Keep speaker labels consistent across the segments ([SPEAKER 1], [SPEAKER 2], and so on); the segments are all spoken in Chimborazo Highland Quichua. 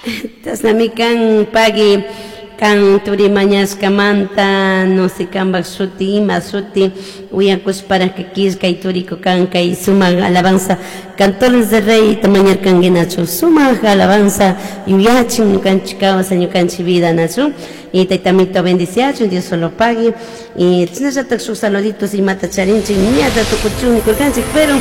[SPEAKER 1] Chashnami kan pagui kan turi mañashkamanta, no sé kanpak shuti ima shuti uyakushparaka killkay turiku kan kay sumak alabanza Cantores del Rey mañarkanki nachu, sumak alabanza yuyachin ñukanchik kawsay, ñukanchik vida nachu. Y taytamito bendiciachun, Dios solo pagui. Y chashnallatak shuk saluditos imata charinchik ñata tukuchun nikurkanchik, pero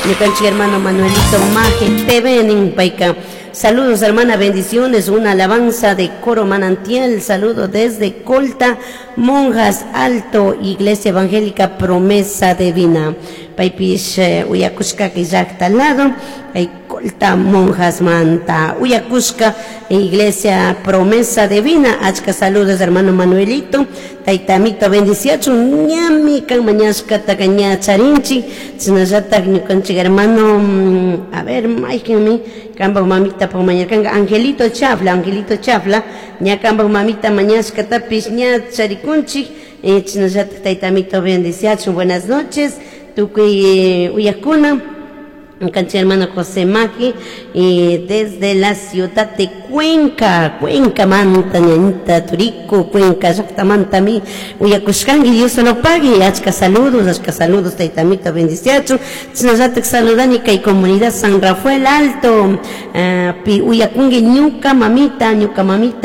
[SPEAKER 1] ñukanchik hermano Manuelito Maje TV nin payka: "Saludos, hermana, bendiciones, una alabanza de Coro Manantial, saludo desde Colta, Monjas Alto, Iglesia Evangélica Promesa Divina". Paypish uyakushka llakta lado, Colta Monjas manta uyakushka, Iglesia Promesa Divina. Achka saludos, hermano Manuelito, taytamito bendiciachun, ñami kan mañashkataka ña charinchik. Chashnallatak ñukanchik hermano, a ver, maykanmi kanpak mamita mañarkanka, Angelito Chafla, Angelito Chafla, ña kanpak mamita mañashkatapish ña charikunchik. Chashnallatak taytamito bendiciachun. Buenas noches, tukuy uyakuna. Ñukanchik hermano José Maki, desde la ciudad de Cuenca, Cuenca manta, ñañita turiku, Cuenca llaktamantami uyakushkanki, Dios solo pague, achka saludos, taytamito bendiciachun. Chashnallatak saludani kay comunidad San Rafael Alto, pi uyakunki ñuka mamita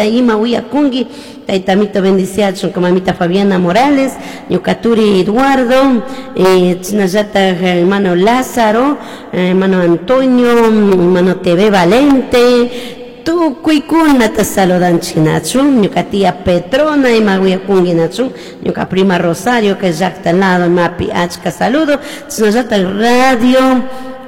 [SPEAKER 1] ima uyakunki, taytamito bendiciachun, mamita Fabiana Morales, ñuka turi Eduardo, chashnallatak hermano Lázaro, hermano Antonio, hermano TV Valente, tukuykunata saludanchik nachu, ñuka tía Petrona ima uyakunki nachu, ñuka prima Rosario que llakta lado mapi achka saludo, chashnallatak radio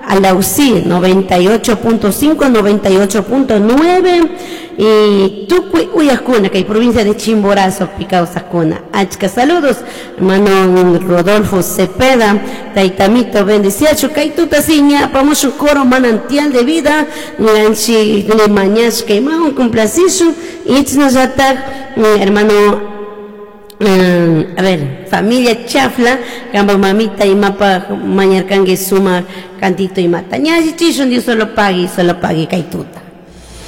[SPEAKER 1] Alausi 98.5, 98.9 y tukuy uyakuna kay provincia de Chimborazo pi kawsakuna, achka saludos, hermano Rodolfo Cepeda, taytamito bendiciachu, kay tuta si ña apamushun Coro Manantial de Vida, ñanchik mañashka imawan complacishun y chashnallatak hermano, a ver, familia Chafla, kanpak mamita imapaj mañarkanki sumak cantito imata. Ñallichishun, Dios solo pagui, solo pagui kay tuta.